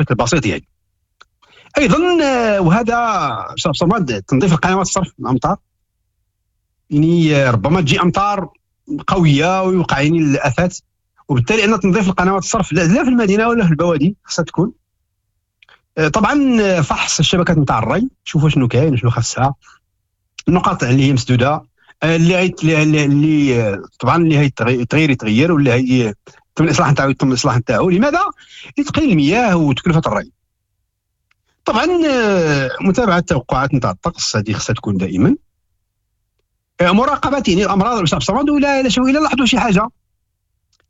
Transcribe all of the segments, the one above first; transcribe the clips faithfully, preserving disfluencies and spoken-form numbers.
بشكل بسيط يعني. ايضا وهذا صمد تنظيف القنوات الصرف الامطار، يعني ربما تجي امطار قوية ويوقع يعني الافات، وبالتالي ان تنظيف القنوات الصرف لا في المدينة ولا في البوادي خصها تكون. طبعا فحص الشبكات نتاع الري، شوفوا شنو كاين شنو خاصها، النقاط اللي هي مسدودة، اللي اللي, اللي طبعا اللي هي تغير يتغير، واللي هي تم الاصلاح نتاعو يتم الاصلاح نتاعو. لماذا؟ لتقليل المياه وتكلفة الري. طبعا متابعه التوقعات نتاع الطقس هذه خصها تكون دائما. مراقبة يعني الامراض الصمد، ولا الا لاحظوا شي حاجة،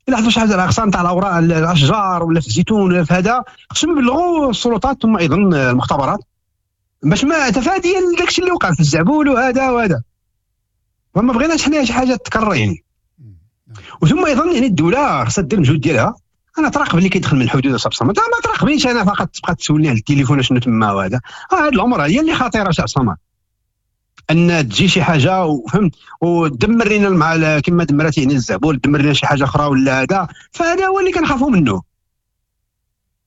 لاحظوا شي حاجة الاغصان تاع الاوراق الاشجار ولا في الزيتون ولا في هذا، خصهم يبلغوا السلطات ثم ايضا المختبرات باش ما تفاديا داكشي اللي وقع في الزعبول وهذا وهذا. فما بغيناش حنا شي حاجة تكرر يعني. وثم ايضا يعني الدولة خصها دير المجهود ديالها. انا تراقب اللي كيدخل من الحدود صاحب الصمد، ما تراقبنيش انا فقط تبقى تسولني على التليفون شنو تما وهذا. هذه الامور هي اللي خطيرة صاحب الصمد، ان تجي شي حاجة وفهمت ودمر لنا مع كما دمرت يعني الزعبول، دمر لنا شي حاجة اخرى ولا هذا، فهذا هو اللي كنخافوا منه.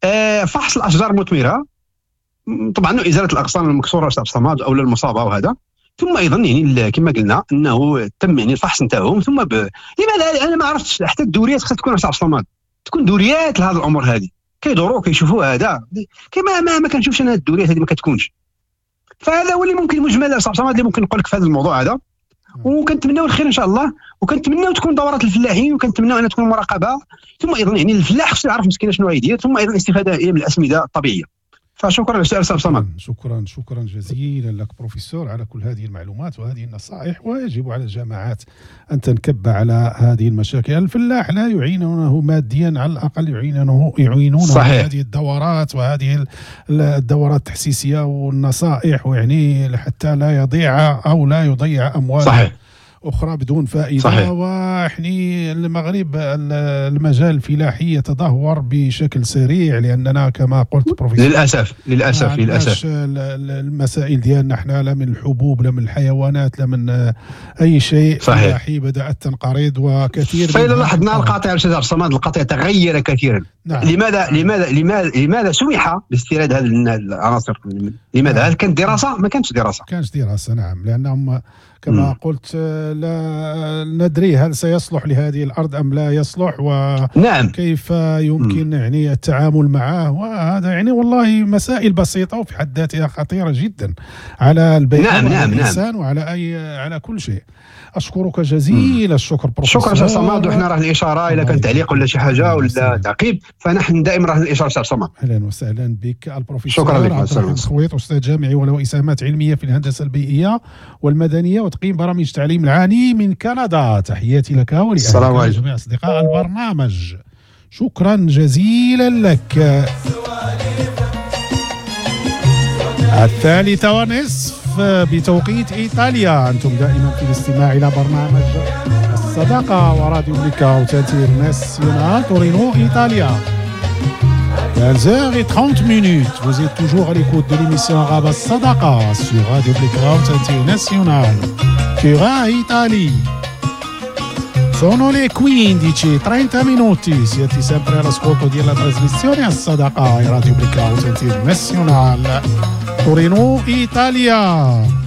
آه فحص الاشجار المثمرة طبعا، ازالة الاغصان المكسورة صاحب الصمد او المصابة وهذا. ثم ايضا يعني كما قلنا انه تم يعني الفحص نتاعهم. ثم ب... لماذا انا ما عرفتش حتى الدوريات خصها تكون صاحب الصمد، تكون دوريات لهذه الامور هذه، كيدوروا كيشوفوا هذا، كما ما, ما كنشوفش انا الدوريات هذه ما كتكونش. فهذا هو اللي ممكن مجمل صاحب الصمد اللي ممكن نقول لك في هذا الموضوع هذا. وكنتمناو الخير ان شاء الله، وكنتمناو تكون دورات الفلاحين، وكنتمناو ان تكون مراقبة. ثم ايضا يعني الفلاح خصو يعرف مسكين شنو غيدير، ثم ايضا الاستفادة من الاسمده الطبيعية. فشكرا للسؤال استاذ صمد. شكرا شكرا جزيلا لك بروفيسور على كل هذه المعلومات وهذه النصائح. ويجب على الجامعات ان تنكب على هذه المشاكل. الفلاح لا يعينونه ماديا، على الاقل يعينونه يعينونه صحيح. هذه الدورات وهذه الدورات التحسيسيه والنصائح، ويعني حتى لا يضيع او لا يضيع امواله صحيح. أخرى بدون فائدة. صحيح. وحني المغرب المجال الفلاحي يتدهور بشكل سريع، لأننا كما قلت بروفيسور للأسف للأسف للأسف المسائل ديالنا احنا لا من الحبوب لا من الحيوانات لا من أي شيء فلاحي بدأت تنقرض وكثير. فإذا لاحظنا القطيع أستاذ عبد الصمد، القطيع تغير كثيرا. نعم. لماذا لماذا لماذا لماذا سمح باستيراد هذه العناصر؟ لماذا؟ هل كانت دراسة؟ ما كانتش دراسة. كانش دراسة نعم، لأنهم كما م. قلت لا ندري هل سيصلح لهذه الأرض أم لا يصلح، وكيف نعم. يمكن م. يعني التعامل معه. وهذا يعني والله مسائل بسيطة وفي حد ذاتها خطيرة جدا على البيئة نعم وعلى نعم الإنسان نعم. وعلى أي على كل شيء. أشكرك جزيل الشكر بروفيسور. شكرا أستاذ صمد، وحنا راه الإشارة إذا كان تعليق ولا شي حاجة ولا تعقيب فنحن دائما راه الإشارة أستاذ صمد. أهلا وسهلا بك البروفيسور شكرا لك عبد الرحيم خويط، أستاذ جامعي وله إسهامات علمية في الهندسة البيئية والمدنية وتقييم برامج التعليم العالي من كندا. تحياتي لك ولأهلك وجميع أصدقاء البرنامج. شكرا جزيلا لك. الثالثة ونصف بتوقيت إيطاليا، أنتم دائما في الاستماع إلى برنامج الصداقة وراديو Blackout International تورينو إيطاليا. quinze heures et trente minutes, vous êtes toujours à l'écoute de l'émission arabe Sadaqa sur Radio Blackout International Turin, Italie. Sono le quindici e trenta minuti, siete sempre all'ascolto della trasmissione Sadaqa e Radio Blackout International Torino, Italia.